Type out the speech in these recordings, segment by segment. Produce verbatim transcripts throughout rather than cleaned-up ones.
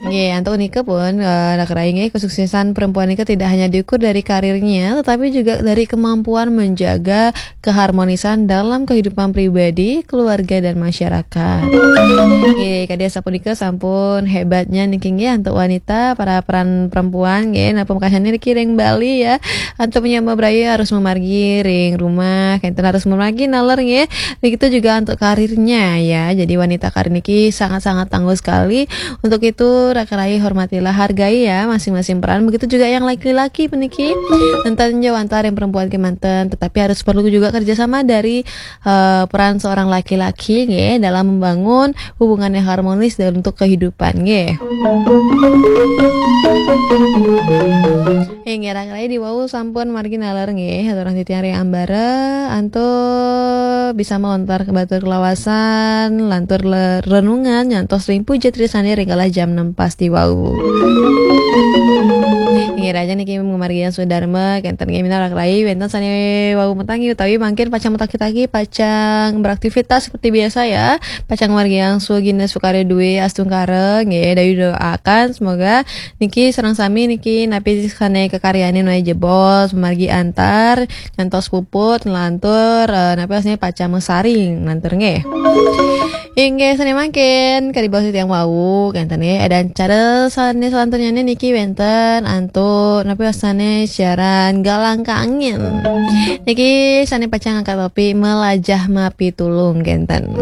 Nggih, antuk nika pun, eh, Raka Rai nggih, kesuksesan perempuan nika tidak hanya diukur dari karirnya, tetapi juga dari kemampuan menjaga keharmonisan dalam kehidupan pribadi, keluarga, dan masyarakat. Nggih, kadi asapunika sampun hebatnya niki nggih, antuk wanita, para peran perempuan nggih, napa mekasannya niki ring Bali ya, antuk menyama braya harus memargi ring rumah, kenten harus memargi naler nggih. Begitu juga untuk karirnya ya. Jadi wanita karir niki sangat-sangat tangguh sekali. Untuk itu, Raka Rai, hormatilah, hargai ya masing-masing peran. Begitu juga yang laki-laki puniki. Nenten jauh antar yang perempuan kemanten, tetapi harus perlu juga kerjasama dari, eh, peran seorang laki-laki nggih, dalam membangun hubungan yang harmonis dan untuk kehidupan nggih. Inggih, Raka Rai, diwau sampun margi naler nggih, aturang titiang ring ambara, antuk bisa melontar ke batur kelawasan, lantur le-, renungan, nyantos ring puja trisane ring galah jam enam pas diwau. Inggih, raja niki ngamargiang swadarma, kenten nggih minab Raka Rai, wenten sane wau matangi utawi mangkin pacang matagi-tagi, pacang beraktivitas seperti biasa ya, pacang ngamargiang swagina swakarya due astungkara, nggih, dayu doakan semoga niki sareng sami niki napi sane kakaryanin wae jebos, margi antar, nyantos puput, nglantur, eh, napi asline pacang masaring, nglantur nggih. Inggih, sane mangkin, kadi baos titiang wau, kenten nggih, dan cara sane selanturnyane niki wenten antuk, napi asane siaran Galang Kangin. Niki sane pacang angkat topik melajah mapitulung, kenten.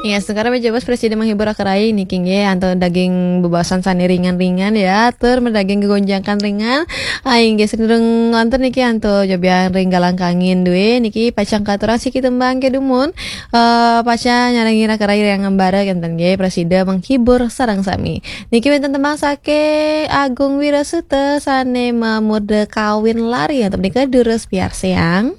Ya, sekarang meja bos presiden menghibur Raka Rai niki nggih, antuk daging bebasan sane ringan-ringan ya, tur medaging gegonjakan ringan. Aing nggih sedurung ngonten niki antuk jobian ring Galang Kangin due niki pacang katurang siki tembang ke dumun. Eh, pacang nyarengi Raka Rai ring ambara kenten nggih, presiden menghibur sareng sami. Niki wenten tembang saking Agung Wirasuta sane mamurda Kawin Lari antuk menika durus piarsayang.